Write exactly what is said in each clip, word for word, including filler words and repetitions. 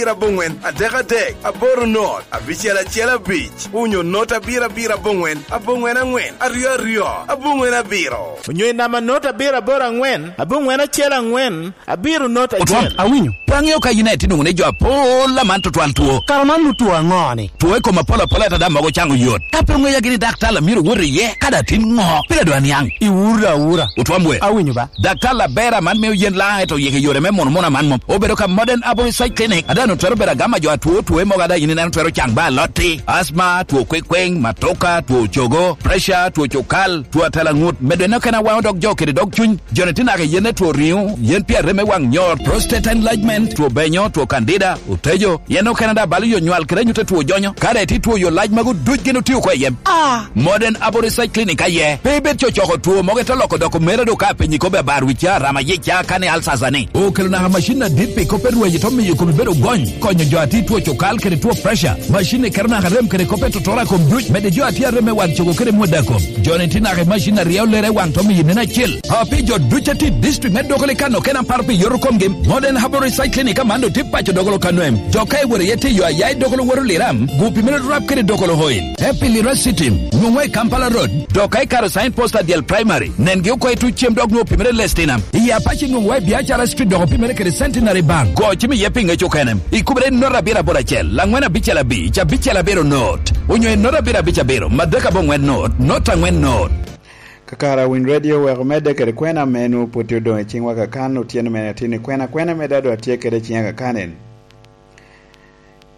abiro aboŋwen adek adek aboro not abicel acel abic, onyo not abiro abiro aboŋwen aboŋwen aŋwen aryo aryo aboŋwen abiro. Onyo i namba not abiro aboro aŋwen aboŋwen acel aŋwen abiro not acel. Otwam, awinyo. Pe aŋeo ka yin aye tye nwoŋo ni jo apol aman tutwal two. Kara man nu two aŋo-ni? Two i kom apol apol ata daŋ mogo caŋo yot. Ka pe oŋeya gini daktar a myero wot iye, ka daŋ tin ŋo? Pire dwa niaŋ. Iwura awura. Otwam we. Awinyo ba. Daktar aber aman mio yen laŋ eto yeke yore me mono mono aman mom. Obedo ka Modern Aboriginal Clinic. Ada no twero bedo agama jo atwo two mogo ada yin ineno twero caŋ ba alotti. Asma, two kwekweŋ, matoka, two cogo, pressure, two cokal, two atalaŋut. Medo en okene awaŋo dog jo kede dog cuny. Joni tye naka i yen two riŋo, yen pi arem me waŋ nyor, prostate enlargement, two benyo, two candida, otejo, yen okene da balo yo nywal kede anyut two jonyo. Kare ti two yo lac mago duc gin otio oko i yem. Ah! Modern Aboriginal Clinic aye. Pe ibed cocoko two mogo ito loko doko mere do ka penyi kobe abar wica, rama yica, kane alsasa ni. Okelo naka macin adit pi kop erwaji to miyo komi bedo gony, konyo jo ati two cokal kede two pressure. Macin ni keto naka rem kede kop etotora kom duc, mede jo ati arem me waŋ cogo kede mwada kom. Joni ti naka i macin aryo lere waŋ to miyo nen acel. A pi jo duc a tye i district me Dokolo i kano kena paro pi yoto komgi, Modern Herbal Recycling i Kamando tye paco Dokolo Kanwem. Jo ka iwero iye tiyo aya i Dokolo Woro Liram, gupi mere rap kede Dokolo Oil. Epilira City, nwoŋo i Kampala Road, dok ka ikaro sign post adyel primary, nengi oko i tuc cem dok nwoŋo pi mere lestina. I Apache nwoŋo i Biacara Street dok pi mere kede Centenary Bank. Go cim iye pi ŋec okene. Ikubere i not abiro aboro acel, laŋwen abicel abic, abicel abiro not. Onyo i not abiro abic abiro, madek aboŋwen not, not aŋwen not. Kakare Winy Radio wek omedde kede kwena ame nwoŋo pwod tye odoŋ i ciŋwa kakan otyeno me atin i kwena, kwena me dado atye kede i ciŋa kakan en.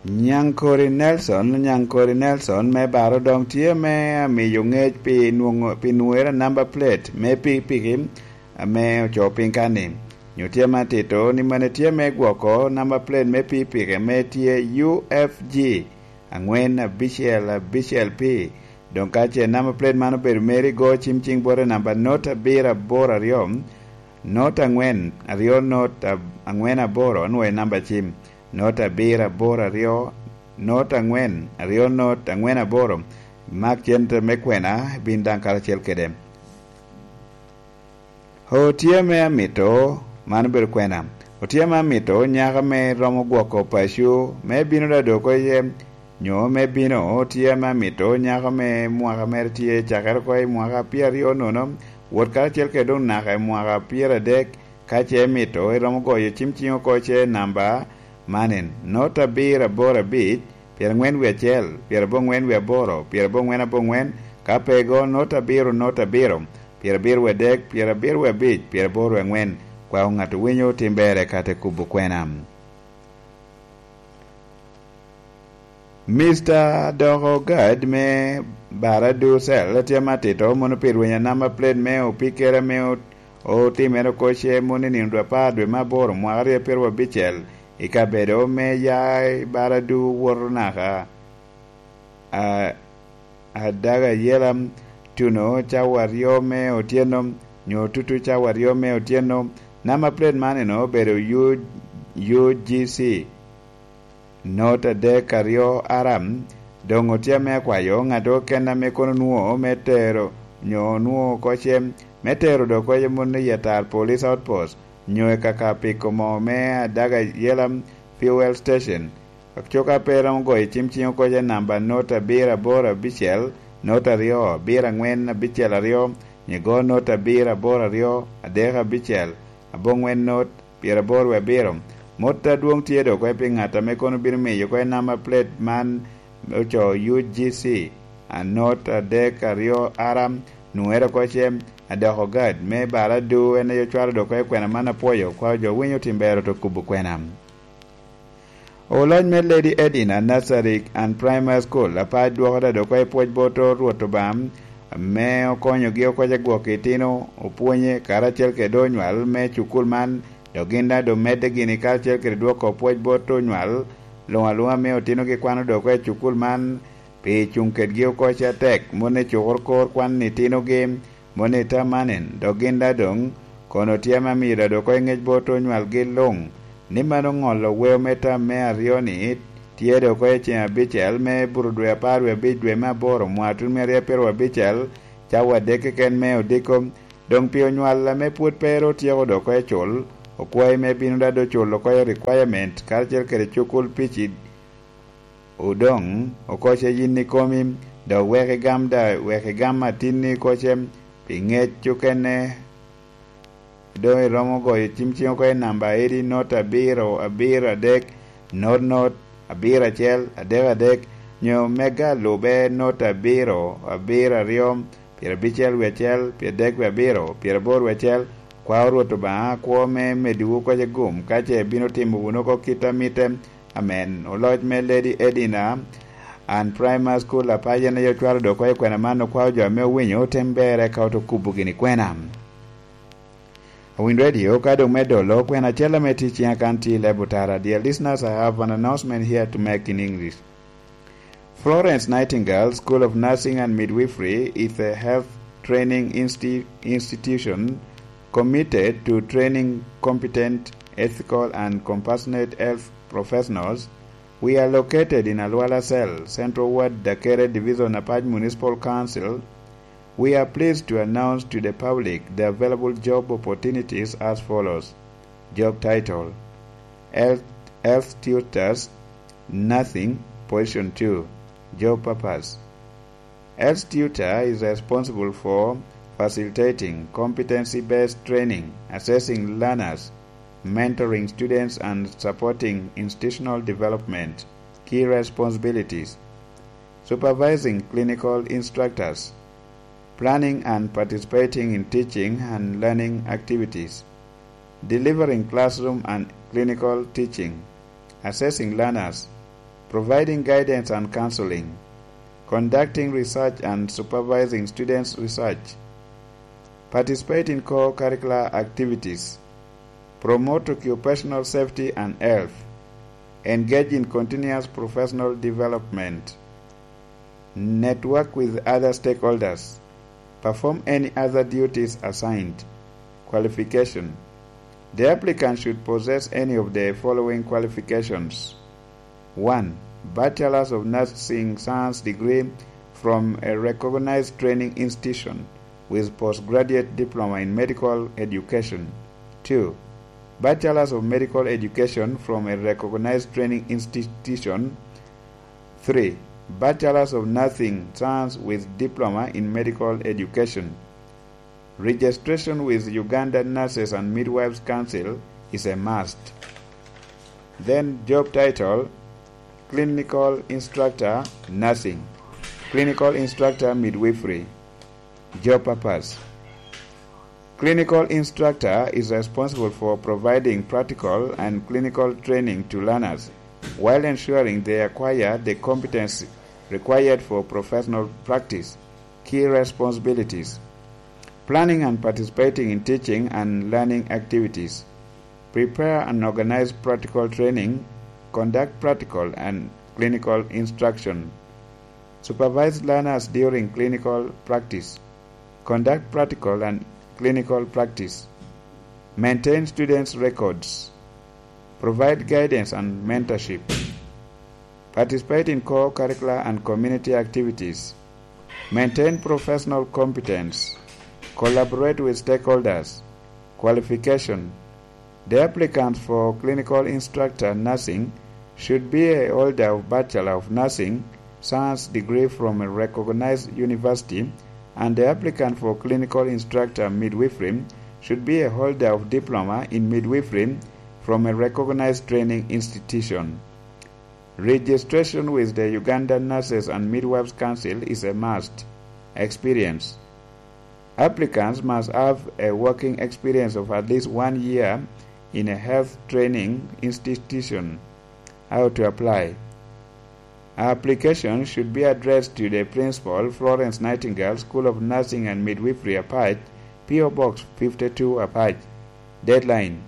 Nyaŋkori Nelson, Nyaŋkori Nelson me Baro doŋ tye me amiyo ŋec pi nwoŋo, pi nwoŋere namba plate me pikipiki ame ocoo piny kan-ni. Nyo tye me atito ni mane tye me gwoko namba plate me pikipiki ame tye U F G aŋwen abicel abicel P. Doŋ ka ce namba plate man obedo meri, go cim ciŋ bote namba not abiro aboro aryo, not aŋwen aryo not ab-, aŋwen aboro, onwoŋo namba cim, not abiro aboro aryo, not aŋwen aryo not aŋwen aboro. Mak cente me kwena, ibin daŋ karacel kede. Otye ame amito, man obedo kwena. Otye ame amito nyako ame romo gwoko paco, me bino da dok oko iye, nyo me bino, otye ame amito nyako ame mwaka mere tye cakere oko i mwaka pyeraryo nono, wot karacel kede doŋ naka i mwaka pyeradek, ka ce imito, iromo goyo cim ciŋ oko ce namba man en, not abiro aboro abic, pyeraŋwen wie acel, pyerabongwen wie aboro, pyerabongwen abongwen, ka pe go, not abiro, not abiro, pyerabiro wie adek, pyerabiro wie abic, pyeraboro wie aŋwen. Kwao ŋat owinyo tim berre ka te kubo kwena. Mister Doko Gad me Baradu Cell tye matito mono pi rweny anamba plate me opikere ame ot-, otimere oko ce mono i nino dwe apar dwe me aboro mwaka aryo pyeraryo abicel i kabedo me ya i Baradu woto naka a-, Adaga Yela tuno cawa aryo me otyeno, nyo tutu cawa aryo me otyeno. Namba plate man eno obedo U-, U G C not adek aryo aram. Doŋ otye ame akwayo ŋat okene ame kono nwoŋo me tero, nyo nwoŋo oko ce, me tero dok oko ce mot i Yatar Police Outpost, nyo i kaka piko moo me Adaga Yela Fuel Station. Acoka pe iromo goyo cim ciŋ oko ce namba not abiro aboro abicel, not aryo abiro aŋwen abicel aryo, nyo igo not abiro aboro aryo adek abicel, abongwen not pyeraboro wie abiro. Mot adwoŋ tye dok oko pi ŋat ame kono bino miyo oko namba plate man ocoo U G C, a not adek aryo aram, nwoŋere oko ce, Adoko Gad me Baradu, en aye ocwalo dok oko kwena man apwoyo, kwao jo winyo tim ber oto kubo kwena. Oloc me Lady Edina Nursery and Primary School, apar dwoko da dok oko i pwoc bot Rwot Obaŋa, ame okonyogi oko ce gwoko itino, opwonye, karacel kede onywal me cukul man, dok gin daŋ doŋ medde gini karacel kede dwoko pwoc bot onywal luŋ aluŋa me otinogi kwano dok oko i cukul man, pi cuŋ kedgi oko ce atek, mot ni cukoro kor kwan itinogi, mot ni tam man en, dok gin daŋ doŋ kono tye ame amio daŋ dok oko i ŋec bot onywalgi luŋ, ni mano ŋolo weo me tam me aryo-ni tye dok oko i ceŋ abicel me buto dwe apar wie abic dwe me aboro mwaka tutumia aryo pyeraryo abicel, cawa adek keken me odiko, doŋ pi onywal ame pwod pe ru otyeko dok oko i cul, okwayi me bino dado culo oko i requirement karacel kede cukul pici. Odoŋ oko ce yin ikomi, dok wek igam da, wek igam atinni oko ce pi ŋec okene. Doŋ iromo goyo cim cim oko i namba edi not abiro abiro adek, not not abiro acel adek adek, nyo mega lube not abiro abiro aryo, pyerabicel wie acel, pyeradek wie abiro, pyeraboro wie acel. Kwao Rwot Obaŋa kwo me medowu oko ce gum ka ce bino timo wunu oko kit a mitte. Amen. Oloc me Lady Edina and Primary School Apac en aye ocwalo dok oko i kwena man, okwao jo ame owinyo otem berre ka oto kubo gini kwena. Awinyo Radio ka doŋ me dolo kwena acel ame tye ciŋa kan tye i leb otara. Dear listeners, I have an announcement here to make in English. Florence Nightingale School of Nursing and Midwifery is a health training insti- institution committed to training competent, ethical, and compassionate health professionals. We are located in Alwala Cell, Central Ward, Dakere Division, Apac Municipal Council. We are pleased to announce to the public the available job opportunities as follows. Job title: Health, Health Tutors, Nursing, Position two. Job purpose: Health tutor is responsible for facilitating competency-based training, assessing learners, mentoring students, and supporting institutional development. Key responsibilities: supervising clinical instructors, planning and participating in teaching and learning activities, delivering classroom and clinical teaching, assessing learners, providing guidance and counseling, conducting research and supervising students' research, participate in co-curricular activities, promote occupational safety and health, engage in continuous professional development, network with other stakeholders, perform any other duties assigned. Qualification: The applicant should possess any of the following qualifications. One, Bachelor's of Nursing Science degree from a recognized training institution with postgraduate diploma in medical education. Two, Bachelor's of Medical Education from a recognized training institution. Three, Bachelor's of Nursing Science with diploma in medical education. Registration with Uganda Nurses and Midwives Council is a must. Then job title: Clinical Instructor Nursing, Clinical Instructor Midwifery. Job purpose: Clinical instructor is responsible for providing practical and clinical training to learners while ensuring they acquire the competence required for professional practice. Key responsibilities: planning and participating in teaching and learning activities, prepare and organize practical training, conduct practical and clinical instruction, supervise learners during clinical practice, conduct practical and clinical practice, maintain students' records, provide guidance and mentorship, participate in co-curricular and community activities, maintain professional competence, collaborate with stakeholders. Qualification: The applicant for clinical instructor nursing should be a holder of Bachelor of Nursing Science degree from a recognized university, and the applicant for clinical instructor midwifery should be a holder of diploma in midwifery from a recognized training institution. Registration with the Uganda Nurses and Midwives Council is a must. Experience: Applicants must have a working experience of at least one year in a health training institution. How to apply: Application should be addressed to the principal, Florence Nightingale School of Nursing and Midwifery, Apac, P O Box fifty-two, Apac. Deadline: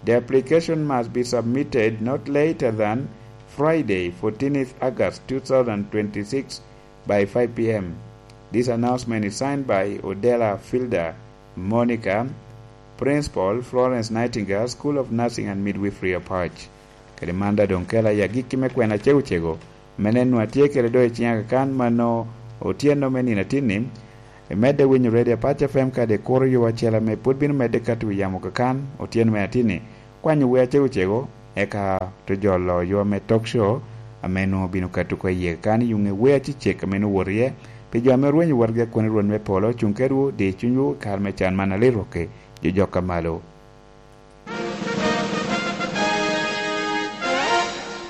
The application must be submitted not later than Friday, fourteenth August two thousand twenty-six, by five p.m. This announcement is signed by Odela Filda Monica, Principal, Florence Nightingale School of Nursing and Midwifery, Apac. Kede man da doŋ kela i agikki me kwena cego cego, mene nwa tye kede do i ciŋa kakan mano otyeno me nino atinni. Imedde winyo Radio Apac F M kadi ikuro yo acel ame pwod bino medde kato i yamo kakan otyeno me atinni. kwanyo wer acego cego, eka te jolo yo me talk show ame nwoŋo obino kato oko iye. Kan i yuŋe wer acecek ame nwoŋo wot iye, pi jo ame orwenyo wotgi akwene Rwot me polo, cuŋ kedwu, di cunywu i kare me can man alit rwokke, jo jok a malo.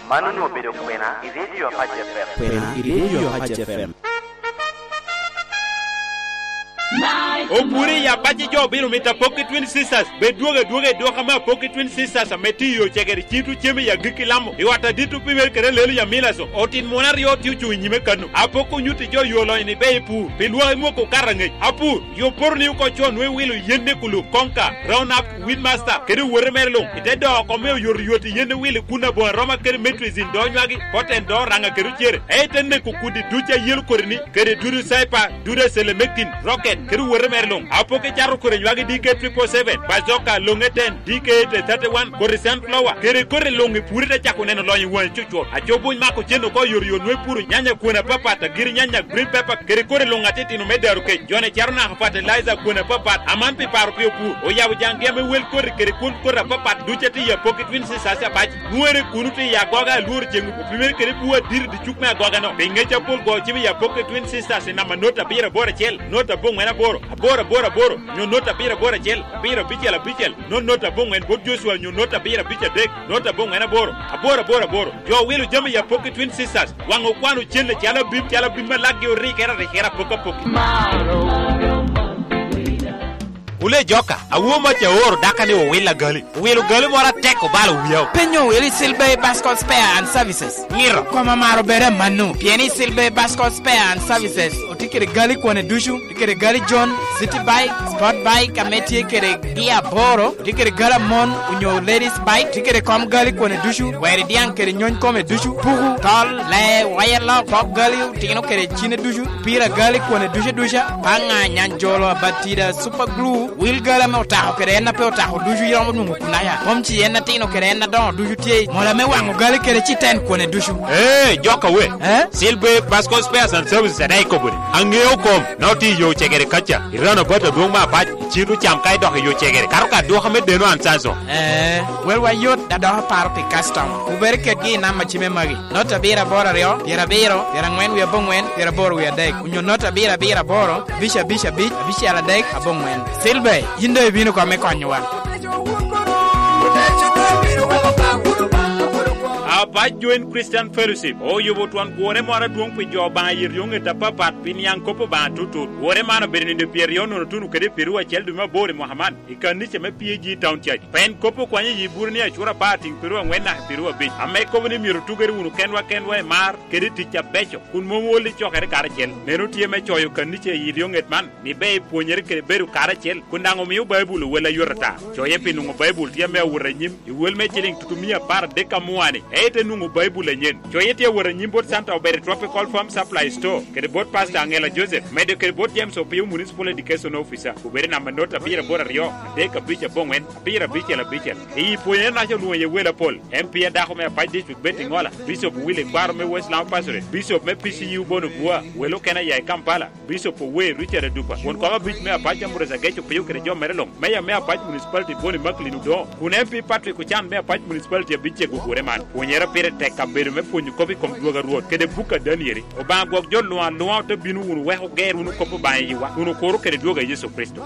Man onwoŋo obedo kwena i Radio Apac F M. Kwena i Radio Apac F M. Opure i Apac, jo obino mito Apok i Twin Sisters. Bed dwogo adwoga i dwoko ame Apok i Twin Sisters ame tye i yo cegere, cito cem i agikki lamo. I ot adit opimere kede alelo i Amilaso. Otin mon aryo tye ocuŋ i nyime kano. Apok onyutti jo yo lonyo ni ber i pur. Pi lwak i mwoko okato angec. Apur, yo poto ni oko con nwe wilo yen ne kulu, konka, round up, Weedmaster, kede owote mere luŋ, i te doo oko me oyotoyot i yen wili kun aboŋo aroma kede metrizin do nywagi, poten do oraŋa kede ocere, ei te neko kudi duc a yelo kodi-ni, kede dudu caipa, dudu a selemektin, rocket, kede owote mere luŋ. Apok icato kodi nywagi D K triple seven, bazoka, loŋe ten, D K eight thirty-one, kodi sunflower, kede kodi luŋ i puri te cako neno lonyo i waŋi cucwot. Aco buny mako cen oko oyotoyot nwe puro nyanya kwene apapat, agiri nyanya, green pepper, kede kodi luŋ atitino me daro kec. Jone caro naka fertilizer kwene apapat, aman pi paro pi opur. Oyabo jaŋgi ame wel koti kede kwon koti apapat duc a tye i Apoki Twin Sisters Apac. Nwoŋere kuno tye i agoga alworo ceŋ opimere kede bur adiri i cuk me agoga-no. Pi ŋec apol go cim i Apoki Twin Sisters i namba not abiro aboro acel, not aboŋwen aboro, aboro aboro aboro, nyo not abiro aboro acel, abiro abicel abicel, not not aboŋwen bot Joshua nyo not abiro abic adek, not aboŋwen aboro, aboro aboro aboro. Jo owilo jami i Apoki Twin Sisters, waŋ okwano cen acalo abim, calo abim ma lakgi orikere arikere apok apok. Wule joka, awo mac aoro daka ni owil agali. Owilo gali moro atek obalo wiya. Penyo wili Silbey Bascot Spare and Services. Ngiro. Koma maro bere manu. Pien i Silbey Bascot Spare and Services, otye kede gali kwane ducu, otye kede gali John, City Bike, Sport Bike, ame tye kede gi aboro, otye kede gali amon, onyo ladies bike, tye kede kom gali kwane ducu, weri diaŋ kede nyony kome ducu, puku, tol, lee, waya lok, pok gali, otino kede cine ducu, pira gali kwane ducu duca, paŋa, nyanjolo, abatida, super glue, wil gali ame otako kede en a pe otako ducu iromo nwoŋo kunaya. Mom ci en atino kede en adoŋo ducu tye, mola me waŋo gali kede ci ten kwane ducu. Ee, joka we. Eh? Silbe Basco Spares and Services adaŋ ikobo ni, aŋeo kom, na otye i yo cegere kaca, i rano bat adwoŋ me apac, icito cam ka idok i yo cegere, kato ka dwoka me deno an canso. Ee, welwa yot, da dok aparo pi customer. Wubed kedgi i namba cime magi. Not abiro aboro aryo, pyerabiro, pyeraŋwen wie aboŋwen, pyeraboro wie adek, onyo not abiro abiro aboro, abic abic abic, abicel adek, aboŋwen. Silbe, yin doŋ ibino kome konyowa. Apac Joint Christian Fellowship oyubo twon gwore moro adwoŋ pi jo Obaŋa i ryoŋet apapat pi niaŋ kop Obaŋa tutut. Gwore man obedo nino pyeraryo nono tuno kede pyeraryo acel dwe me aboro i mwaka man i kanica me P A G Town Church. Pien kop okwanyo yi buro ni acura apar tiŋ pyeraryo aŋwen naka pyeraryo abic, ame kobo ni myero otugere wunu kenwa kenwa i mar kede i tic abeco, kun mom ol i cokere karacel. Meno tye me coyo kanica i ryoŋet man, ni ber ipwonyere kede bedo karacel, kun daŋ omio Baibul owel ayot ata. Coye pi nwoŋo Baibul tye ame awot anyim i wel me ciliŋ tutumia apar adek amua-ni, ite nwoŋo Baibul anyen. Coye tye awot anyim bot Santa Obere Tropical Farm Supply Store, kede bot Pastor Angela Joseph, medo kede bot James Opio, Municipal Education Officer, obedo i namba not abiro aboro aryo, adek abic aboŋwen, abiro abicel abicel. I pwonyere naca olwoŋo iye wel apol, M P a dako me Apac District Betty Ngola, Bishop Willy Kwaro me West Lamu Pastorate, Bishop me P C U Bono Bua, wel okene aya i Kampala, Bishop Owe Richard Adupa, won kom abic me Apac Ambrose Ageco Pio kede jo mere luŋ, Meya me Apac Municipality Boni Macklin Odongo, kun M P Patrick Ochan me Apac Municipality abic cego ogure man. Pwonyere pire tek kabedo me pwonyo kop i kom dwogo a Rwot kede buk a Danieli. Obaŋa gwok jo luŋ aluŋa ote bino wunu wek oger wunu kop Obaŋa i yiwa, kun okuro kede dwogo a Yecu Kricito.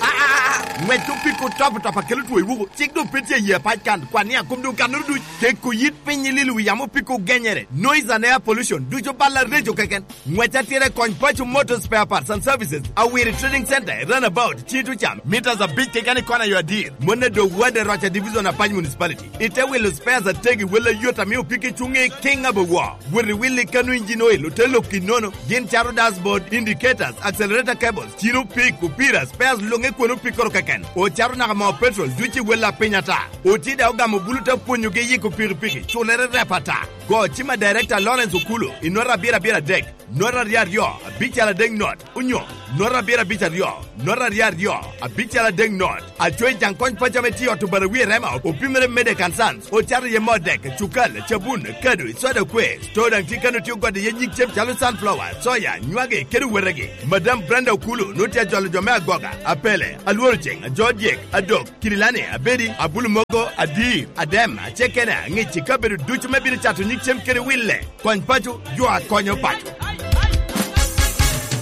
Aa, ŋwec opiko top top akelo two i wuku. Cik doŋ pe tye i Apac kan, kwan ni akom doŋ kannoro duc. Keko yit piny i lilo wi yamo opiko genyere. Noise and air pollution, ducu bal areco keken. Ŋwec atira i kony Paco Motor Spare Parts and Services, Awiri Trading Center, i Runabout, Tito Cam, meters abic keken i kona yo adir. Mon a dog ward a Roca Division Apac Municipality. Ite wilo spares ategi wel ayot ame opiki cuŋe kiŋ abewo. Wot i wil i kano engine oil, ote lok i nono. Gin cato dashboard, indicators, accelerator cables, cino pik, opira, spares luŋe kwene opikoro keken. Ocato naka moo petrol, duc i wel a piny ata. Otye daŋ ogamo bulu te pwonyogi yiko pikipiki, culere rep ata. Go cim a Director Lawrence Okulu i nota abiro abiro adek, nota aryo aryo, abicel adek not, onyo nota abiro abic aryo, nota aryo aryo, abicel adek not. Acoyi Jaŋ Kony Paco ame tye i ot Obarawi i Rema, opimere Mede Kansan, ocato iye moo dek, cukal, cabun, kado, i soda kwe. Store daŋ tye kano tye ogode iye nyig cem calo sunflower, soya, nywagi, kede owetegi. Madam Brenda Okulu nwoŋo tye ajolo jo me agoga, apele, alworo ceŋ, ajo dyek, adok, kirilani, abedi, abulu mogo, adir, adem, acekene, aŋic i kabedo ducu me bino cato nyig cem kede wille. Kony paco, jo a konyo paco.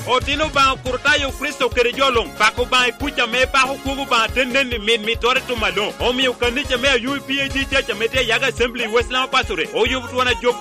Otino Obaŋa Kurtayo Kricito kede jo luŋ, pako Obaŋa i kuc ame pako kwogo Obaŋa te nen i mit mitoro i tum aloŋ. Omio kanica me Ayubu P A G Church ame tye i Yaga Assembly i West Lama Pasture oyubo twon ajok